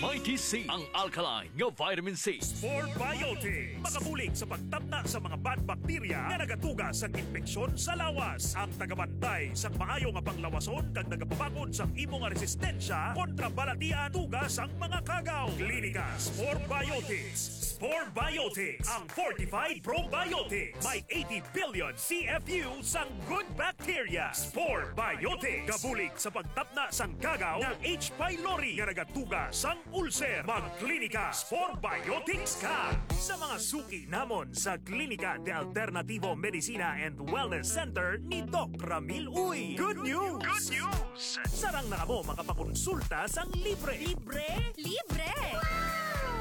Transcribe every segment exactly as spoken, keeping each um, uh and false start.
Mighty C, ang alkaline nga vitamin C. Spore Biotics, makabulig sa pagtapna sa mga bad bacteria nga nagatuga sa impeksyon sa lawas. Ang tagabantay sa maayo nga panglawason kag nagapabakod sa imo nga resistensya kontra balatian tuga sang mga kagaw. Klinika Spore Biotics. Spore Biotics, ang fortified probiotics. May eighty billion C F U sang good bacteria. Spore Biotics, kabulig sa pagtapna sang kagaw nga H. pylori nga nagatuga sang ulcer. Magklinika Spore Biotics ka sa mga suki namon sa Klinika de Alternativo Medicina and Wellness Center ni Doc Ramil Uy. Good news! Good news! Sarang na kamo makapakonsulta sang libre. Libre? Libre!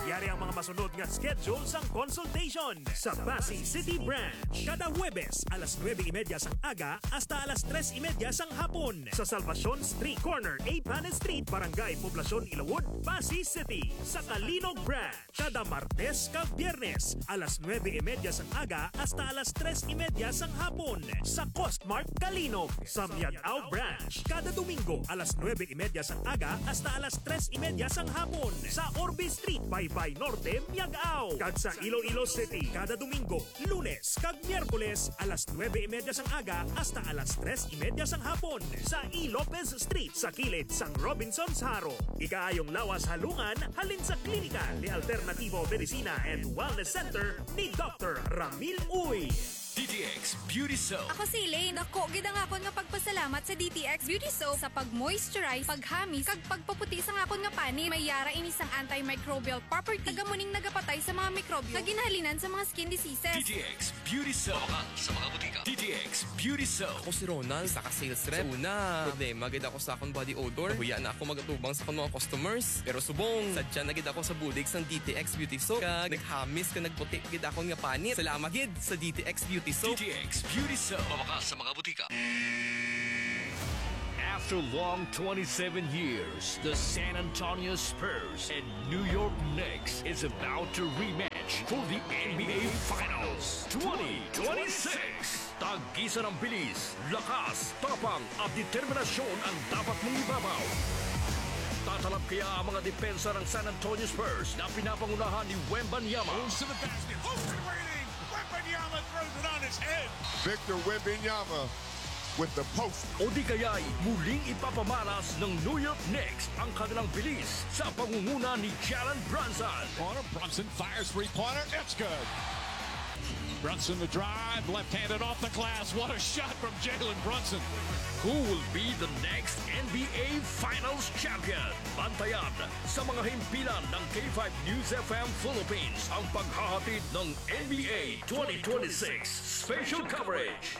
Yari ang mga masunod nga schedule sang consultation sa Passi City Branch. Kada Huwebes, alas nuebe y media sang aga hasta alas tres y media sang hapon, sa Salvacion Street, corner A Panes Street, Barangay Poblacion, Ilawod, Passi City. Sa Calinog Branch, kada Martes kag Biyernes, alas nuebe y media sang aga hasta alas tres y media sang hapon, sa Costmart Calinog. Sa Miag-ao Branch, kada Domingo, alas nuebe y media sang aga hasta alas tres y media sang hapon, sa Orbe Street, Baybay Norte, Miag-ao. Kag sa Iloilo City, kada Domingo, Lunes kag Miyerkules, alas nuebe y media sang aga hasta alas tres y media sang hapon, sa E. Lopez Street, sa kilid sang Robinsons Jaro. Ikaayong lawas halungan halin sa Klinika de Alternativo Medicina and Wellness Center ni Doctor Ramil Uy. D T X Beauty Soap. Ako si Elaine. Dako gid ang akon nga pagpasalamat sa D T X Beauty Soap sa pag-moisturize, paghamis, kag pagpaputi sang akon nga panit. May yara ini sang antimicrobial property, kag amo ning nagapatay sa mga mikrobyo nga ginhalinan sa mga skin diseases. D T X Beauty Soap. Mabakal sa mga butika. D T X Beauty Soap. Ako si Ronald, isa ka sales rep. Sa una, problema gid ako sa akong body odor. Nahuya na ako mag-atubang sa akong mga customers. Pero subong, sadya na gid ako sa bulig sang D T X Beauty Soap. Kag naghamis kag nagputi gid akon nga panit. Salamat gid sa D T X Beauty Soap. D T X Beauty Soap. Mabakal sa mga butika. After long twenty-seven years, the San Antonio Spurs and New York Knicks is about to rematch for the N B A Finals twenty twenty-six. Tag-isa ng bilis, lakas, tapang at determinasyon ang dapat mong ibabaw. Tatalab kaya ang mga depensa ng San Antonio Spurs na pinapangunahan ni Wembanyama? Moves to the basket. Open waiting. Wembanyama throws it on his head. Victor Wembanyama with the post. O di kaya'y muling ipapamalas ng New York Knicks ang kanilang bilis sa pangunguna ni Jalen Brunson. Corner, Brunson fires three-pointer. It's good. Brunson the drive, left-handed off the glass. What a shot from Jalen Brunson. Who will be the next N B A Finals champion? Bantayan sa mga himpilan ng K five News F M Philippines ang paghahatid ng N B A twenty twenty-six special coverage.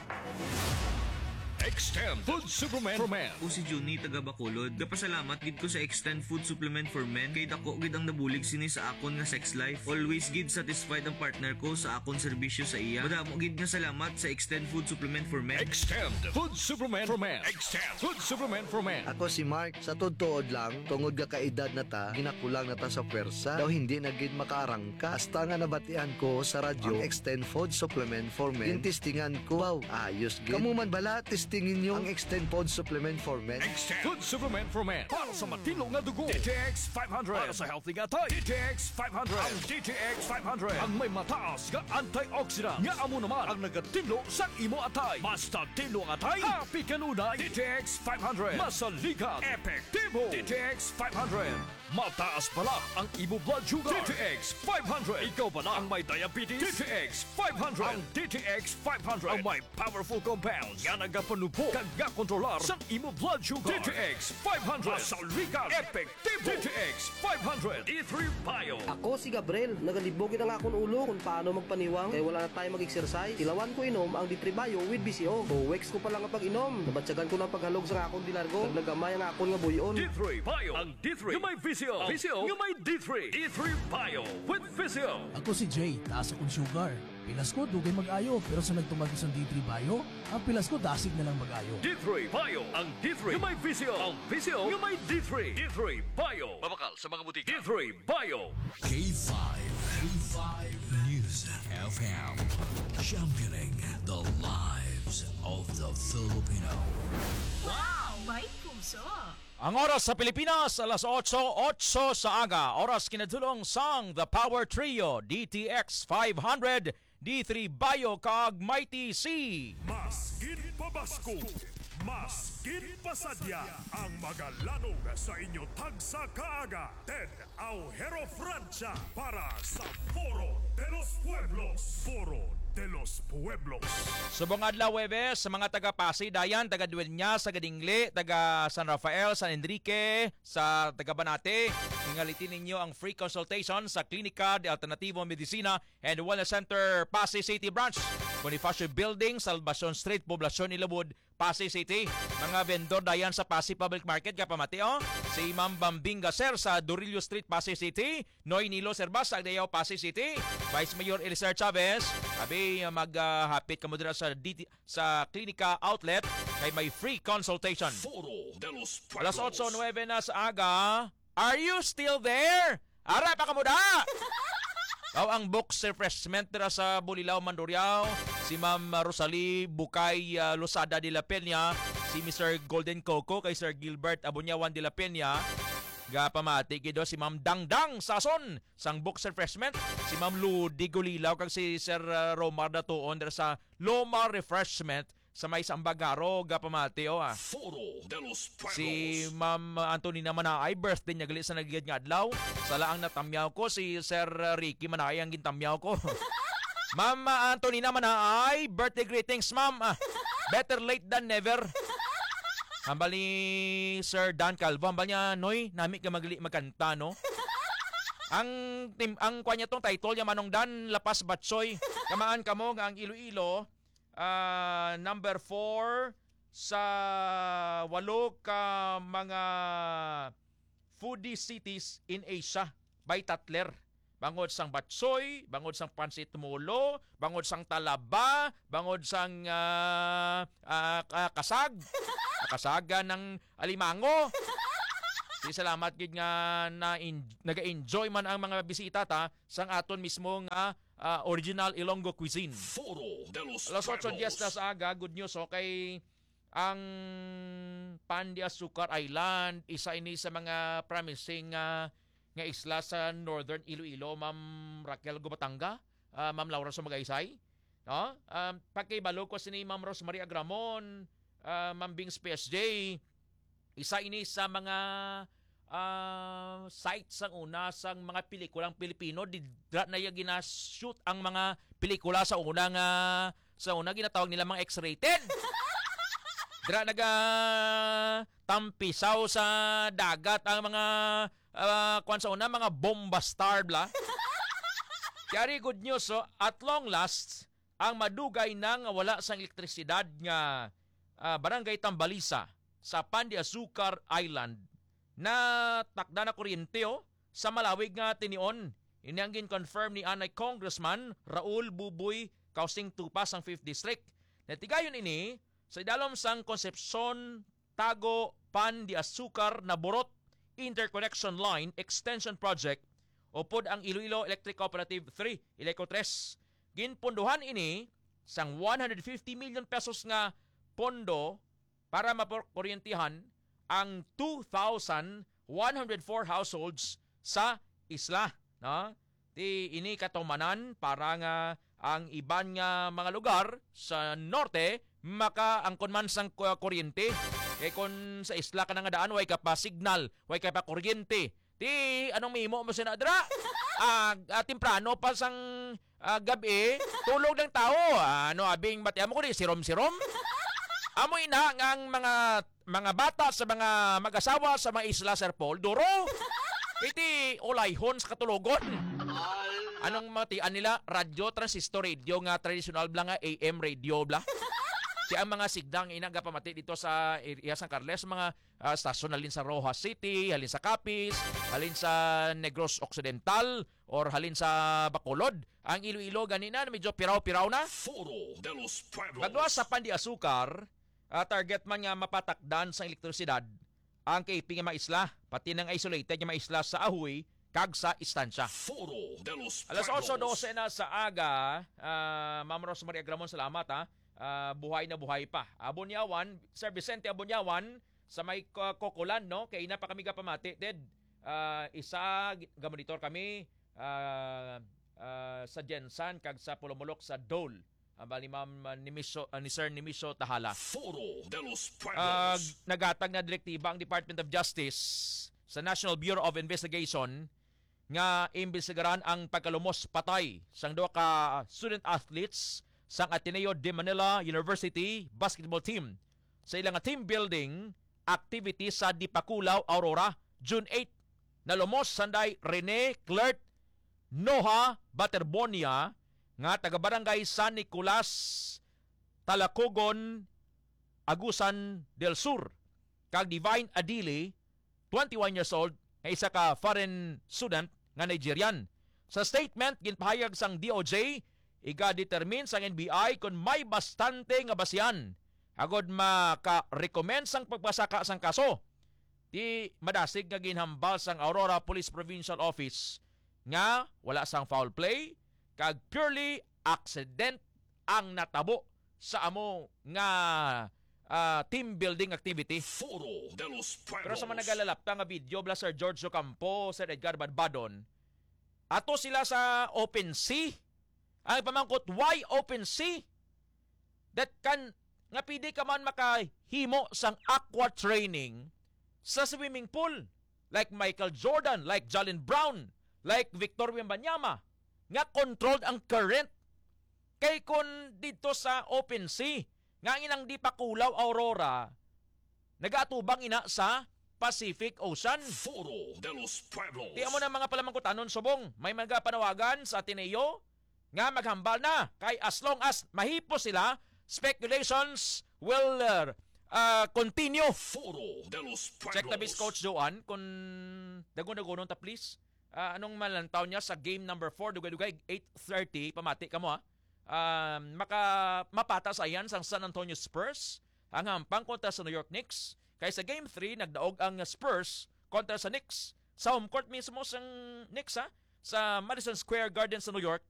Extend Food Supplement for Men. Ako si Junie, taga Bacolod. Gapasalamat gid ko sa Extend Food Supplement for Men kay dako gid ang nabulig sini sa akon nga sex life. Always gid satisfied ang partner ko sa akon serbisyo sa iya. Madamo gid nga salamat sa Extend Food Supplement for Men. Extend Food Supplement for Men. Extend Food Supplement for Men. Ako si Mark. Sa tuod-tuod lang, tungod nga kaedad na ta, ginakulang na ta sa pwersa. Daw hindi na gid makaarangka. Hasta nga nabatian ko sa radyo ang Extend Food Supplement for Men. Gintistingan ko. Wow, ayos gid. Kamo man bala, testingin nyo ang Extend Food Supplement for Men. Extend Food Supplement for Men. Para sa matinlo nga dugo, D T X five hundred. Para sa healthy nga atay, D T X five hundred. Ang D T X five hundred ang may mataas nga antioxidant nga amo naman ang nagatinlo sang imo atay. Mas tinlo ang atay, happy kanunay. D T X five hundred. Masaligan, epektibo. D T X five hundred. Mataas bala ang imo blood sugar. D T X five hundred. Ikaw bala ang may diabetes? D T X five hundred. Ang D T X five hundred ang may powerful compounds nga nagapanubo kag gakontrolar sang imo blood sugar. D T X five hundred. Masaligan, epektibo. D T X five hundred. D three Bio. Ako si Gabriel. Nagalibog gid ang akon ulo kung paano magpaniwang kay wala na tayo mag-exercise. Tilawan ko inom ang D three Bio with V C O. Two weeks ko pa lang nga pag-inom, nabatyagan ko na ang paghalog sa akon dilargo. Naglagamay ang akon nga buy-on. D three Bio. Ang D three nga may V C O. V C O nga may D three. D three Bio with V C O. Ako si Jay, taas akong sugar. Pilas ko, dugay mag-ayo, pero sa nagtumag ko sang D three Bio, ang pilas ko dasig na lang mag-ayo. D three Bio, ang D three nga may V C O, ang V C O nga may D three. D three Bio. Mabakal sa mga butika. D three Bio. K five, K five News F M, championing the lives of the Filipino. Wow! May puso! Ang oras sa Pilipinas, alas otso, otso sa aga. Oras kinadulong sang The Power Trio, D T X five hundred, D three Bio, kag Mighty C. Mas ginpabasko, mas ginpasadya ang magalanog sa inyo tagsa kaaga. Ted Aujero Francia para sa Foro de los Pueblos. Foro de los Pueblos. Subong adlaw, Huwebes, sa mga taga Pasay, Dayan, taga Dueñas, taga Dingle, taga San Rafael, San Enrique, sa taga Banate, ingalitin ninyo ang free consultation sa Klinika de Alternativo Medicina and Wellness Center, Pasay City Branch, Bonifacio Building, Salvacion Street, Poblacion, Ilawod, Pasay City. Mga vendor dayan sa Pasay Public Market, kapamati, oh. Si Ma'am Bambing Gaser sa Dorillo Street, Pasay City. Noy Nilo Servas sa Agdayao, Pasay City. Vice Mayor Eliser Chavez, abi, mag, ah, hapit kamo dira sa D T, sa Klinika Outlet kay may free consultation. Foro de los Alas Pueblos. Otso nuebe na sa aga. Are you still there? Ara pa kamo da! Aw, ang box refreshment dira sa Bulilao, Mandurriao, si Ma'am Rosalie Bukay, ah, Losada de la Peña, si Mister Golden Coco kay Sir Gilbert Abunyawan de la Peña, gapamati gid si Ma'am Dangdang Sason sang box refreshment, si Ma'am Ludi Gulilaw kag si Sir, ah, Romar Datuon dira sa Loma Refreshment sa may Sambagaro, gapamati, oh, ah. Foro de los Pueblos. Si Ma'am Antonina Manaay, birthday niya gali sa nagigid nga adlaw. Sala ang natamyaw ko, si Sir Ricky Manaay ang gintamyaw ko. Ma'am Antonina Manaay, birthday greetings, ma'am. Ah, better late than never. Hambal ni Sir Dan Calvo, hambal niya, "Noy, nami ka magli magkanta, no?" Ang tim-, ang kwa niya tong title niya, Manong Dan, Lapas Batsoy. Kamaan kamo nga ang Iloilo, ah, number four sa walo ka mga foodie cities in Asia by Tatler. Bangod sang batsoy, bangod sang pansit molo, bangod sang talaba, bangod sang, ah, ah, ka-, kasag, kasagan ng alimango. Di salamat gid nga na naga-enjoy man ang mga bisita ta sang aton mismo nga, ah, original Ilonggo cuisine. Foro de los Alas otso diez na Pueblos. Sa aga, good news, okay. Ang Pan de Azúcar Island, isa ini sa mga promising nga, nga isla sa Northern Iloilo, Ma'am Raquel Gubatanga, ah, Ma'am Laura Sumagaysay, no? Um, pakibalo ko sini Ma'am Rosemary Agramon, ah, Ma'am Bings P S J, isa ini sa mga, ah, site sang una sang mga pelikulang Pilipino. Dira na iya gina-shoot ang mga pelikula sa una nga, sa una ginatawag nila mga X-rated. Dira naga tampisaw sa dagat ang mga, ah, kwan sa una, mga bomba star bla. Kaya good news, so, at long last, ang madugay na nga wala sang elektrisidad nga, ah, Barangay Tambalisa sa Pan de Azúcar Island, natakda na kuryente, oh, sa malawig nga tinion. Ini ang gin-confirm ni anay Congressman Raul Buboy Causing Tupa sang Fifth District. Natigayon ini sa idalom sang Concepcion Tago Pan de Azúcar Naborot Interconnection Line Extension Project, upod ang Iloilo Electric Cooperative three, Ileco tres. Ginpundohan ini sang one hundred fifty million pesos nga pondo para mapakuryentehan ang two thousand one hundred four households sa isla, no? Ti ini katumanan para nga ang iban nga mga lugar sa norte makaangkon man sang ku-, kuryente. Kay kon sa isla ka na nga daan, way ka pa signal, way ka pa kuryente. Ti, anong mahimo mo sina dira? Ah, ah, temprano pa sang, ah, gab-i, tulog lang tao. Ano, abing batian mo ko di, sirom-sirom? Amo ina nga ang mga, mga bata sa mga mag-asawa sa mga isla, Sir Paul, duro. Iti ulayhon sa katulogon. Anong matian nila? Radyo, transistor radio nga tradisyonal bla nga A M radio bla. Kaya ang mga sigdang ina gapamati dito sa area San Carles, mga, ah, stasyon halin sa Roxas City, halin sa Capiz, halin sa Negros Occidental, or halin sa Bacolod. Ang Iloilo gani na medyo piraw-piraw na. Foro de los Pueblos. Pagluwas sa Pan de Azúcar, ah, target man nga mapatakdan sang elektrisidad ang K P nga mga isla, pati nang isolated nga mga isla sa Ajuy kag sa Estancia. Foro de los Alas Pueblos. Otso dose na sa aga, ah, Ma'am Rosemary Agramon, salamat, ha. Ah, buhay na buhay pa. Abunyawan, Sir Vicente Abunyawan, sa may Ko-, Cocoland, no? Kay ina pa kami gapamati, Ted. Ah, isa, gi-, gamonitor kami, ah, ah, sa Gensan kag sa Polomolok sa Dole. Ang bali, Ma'am, ah, Nimisyo, ah, ni Sir Nimisyo Tahala. Foro de los Ah, Pueblos. Naghatag na direktiba ang Department of Justice sa National Bureau of Investigation nga imbestigaran ang pagkalumos patay sang duha ka student athletes sang Ateneo de Manila University basketball team sa ila nga team building activity sa Dipakulaw, Aurora, June eight. Nalumos sanday Rene Clert Noha Baterbonia nga taga Barangay San Nicolas, Talacogon, Agusan del Sur, kag Divine Adili, twenty-one years old, nga isa ka foreign student nga Nigerian. Sa statement, ginpahayag sang D O J, iga-determine sang N B I kon may bastante nga basihan agod maka-recommend sang pagpasaka sang kaso. Di madasig nga ginhambal sang Aurora Police Provincial Office nga wala sang foul play kag purely accident ang natabo sa amo nga, ah, team building activity. Foro de los Pueblos. Pero sa mga nagalalapta nga video, bala Sir George Ocampo, Sir Edgar Badbadon, ato sila sa open sea. Ang pamangkot, why open sea? That can, nga pwede ka man makahimo sang aqua training sa swimming pool. Like Michael Jordan, like Jaylen Brown, like Victor Wembanyama, nga controlled ang current. Kay kon dito sa open sea, nga ang ilang Dipakulaw, Aurora, nagaatubang ina sa Pacific Ocean. Foro de los Pueblos. Di amo na mga palamangkutanon subong. May mga panawagan sa Ateneo nga maghambal na. Kay as long as mahipos sila, speculations will, uh, uh, continue. Foro de los Pueblos. Check the base, Coach Joan, kung dagon-dagonon ta, please. Ah, anong malantaw niya sa game number four, dugay-dugay, eight thirty, pamati ka mo, ha? Um, maka-, mapata sa yan sang San Antonio Spurs, ang hampang kontra sa New York Knicks. Kay sa game three, nagdaog ang Spurs kontra sa Knicks. Sa home court mismo sang Knicks, ha? Sa Madison Square Garden sa New York,